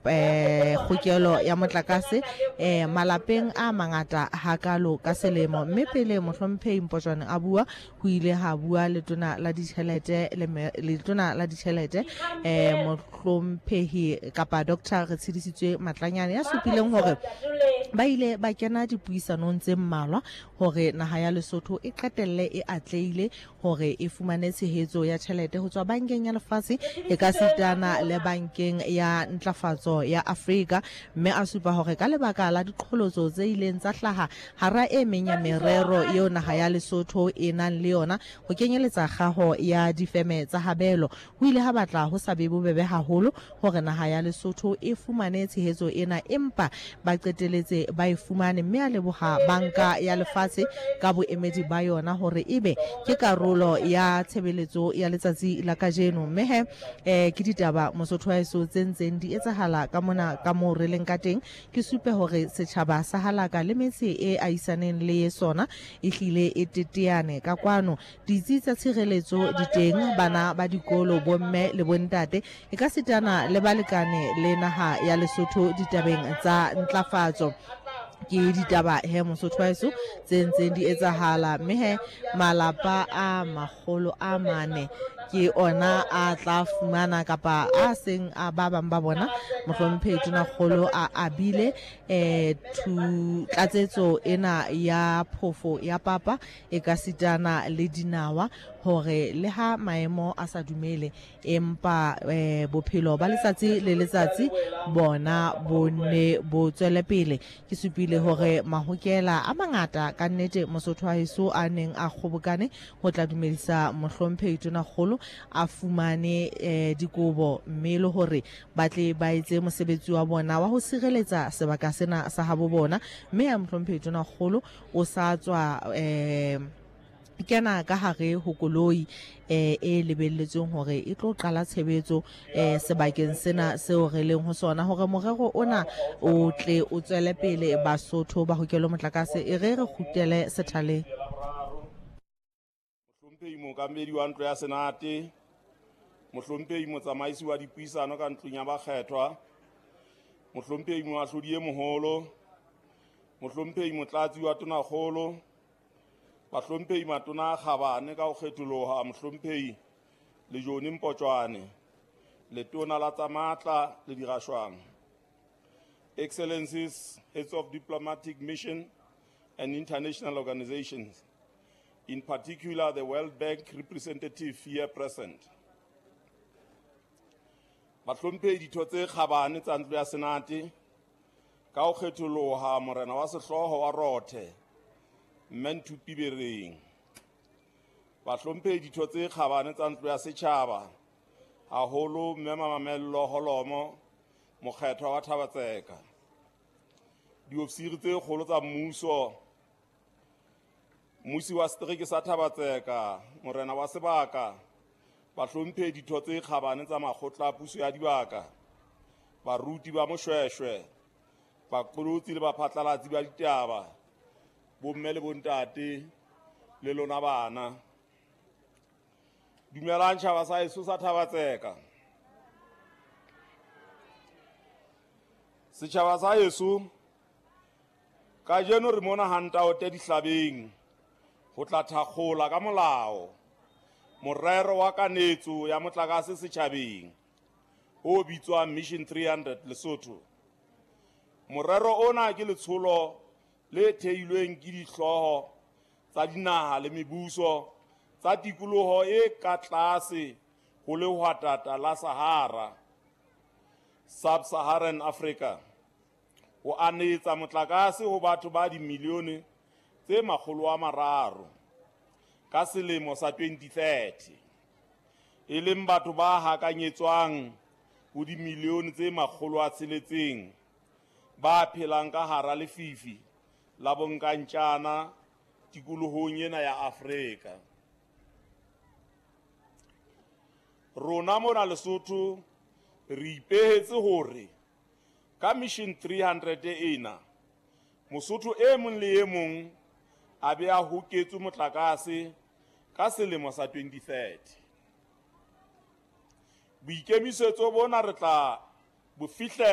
kgokelo ya motlakase malapeng a mangata hakalo ka selemo. Mme pele Mohlomphehi Mpotjwane a bua, ho ile ha bua letona la ditjhelete letona la ditjhelete Mohlomphehi kapa Doctor Retshidisitswe Matlanyane, ya supileng hore ba ile ba kena dipuisanong tse mmalwa hore naha ya Lesotho e qetelle e atlehile hore e fumane tshehetso ya tjhelete ho tswa Bankeng ya Lefatshe e ka sitana le Bankeng ya Ntlafatso ya Afrika. Mme a supa hore ka lebaka la diqholotso tse ileng tsa hlaha hara e meng ya merero eo naha ya Lesotho e nang le yona, ho kenyeletsa kgaho ya difeme tsa habelo, ho ile ha batla ho sa be bobebe haholo hore naha ya Lesotho e fumane tshehetso ena, empa ba qeteletse ba e fumane. Mme a leboha Banka ya Lefatshe ka boemedi ba yona hore ebe ke karolo ya tshebeletso ya letsatsi la kajeno. Mme he ke ditaba, Mosotho wa heso, tse ntseng di etsahala ka mona ka moo re leng ka teng. Ke supe hore setjhaba sa Halaka le metse e ahisaneng le sona e hlile e teteane ka kwano. Ditsi tsa tshireletso di teng, bana ba dikolo, bomme le bontate, e ka sitana le balekane le naha ya Lesotho ditabeng tsa ntlafatso. Ke ditaba he, Mosotho wa heso, tse ntseng di etsahala. Mme he malapa a 400 ke ona a tla fumana kapa a seng a ba bang ba bona Mohlomphehi Tonakgolo a abile thu tlatsetso ena ya phofo ya papa e ka sitana le dinawa, hore le ha maemo a sa dumele, empa bophelo ba letsatsi le letsatsi bona bo ne bo tswele pele. Ke supile hore mahokela a mangata ka nnete, Mosotho wa heso, a neng a kgobokane ho tla dumedisa Mohlomphehi Tonakgolo a fumane dikobo, mme le hore ba tle ba etse mosebetsi wa bona wa ho sireletsa sebaka sena sa habo bona. Mme ya Mohlomphehi Tonakgolo o sa tswa kena ka hare ho koloi e lebelletsweng hore e tlo qala tshebetso sebakeng sena seo re leng ho sona, hore morero ona o tle o tswele pele, Basotho ba hokelo motlakase. E re re kgutlele sethaleng. Mohlomphehi Mookamedi wa Ntlo ya Senate, Mohlomphehi Motsamaisi wa Dipuisano ka Ntlong ya Bakgethwa, Mohlomphehi Moahlodi e Moholo, Mohlomphehi Motlatsi wa Tonakgolo, Bahlomphehi Matona a Kgabane ka ho kgetholoha, Mohlomphehi Lejone Mpotjwane, Letona la tsa Matla le Dirashwang. Excellencies, heads of diplomatic mission and international organizations, in particular the World Bank representative here present. Bahlomphehi ditho tse kgabane tsa Ntlo ya Senate, ka ho kgetholoha Morena wa Sehlooho wa Rothe, Mme Nthupi Bereng. Bahlomphehi ditho tse kgabane tsa Ntlo ya Setjhaba, haholo Mme Mamello Holomo, mokgethwa wa Thaba-Tseka. Diofisiri tse kgolo tsa mmuso, mmusi wa setereke sa Thaba-Tseka, morena wa sebaka, bahlomphehi ditho tse kgabane tsa makgotla a puso ya dibaka, baruti ba Moshweshwe, baqolotsi le baphatlalatsi ba ditaba, bomme le bontate le lona bana. Dumelang tjhaba sa heso sa Thaba-Tseka. Setjhaba sa heso, kajeno re mona ha Ntaote Dihlabeng ho tla thakgola ka molao morero wa kanetso ya motlakase setjhabeng o bitswang Mission 300 Lesotho. Morero ona ke letsholo le theilweng ke dihlooho tsa dinaha le mebuso tsa tikoloho e ka tlase ho lehwatata la Sahara, Sub-Saharan Africa, ho anetsa motlakase ho batho ba dimilione tse 300 ka selemo sa 2030, e leng batho ba hakanyetswang ho dimilione tse 600 ba phelang ka hara lefifi la bonkantjana tikolohong ena ya Afrika. Rona mona Lesotho re ipehetse hore ka Mission 300 ena Mosotho e mong le e mong a be a hoketswe motlakase ka selemo sa 2030. Boikemisetso bona re tla bo fihlela.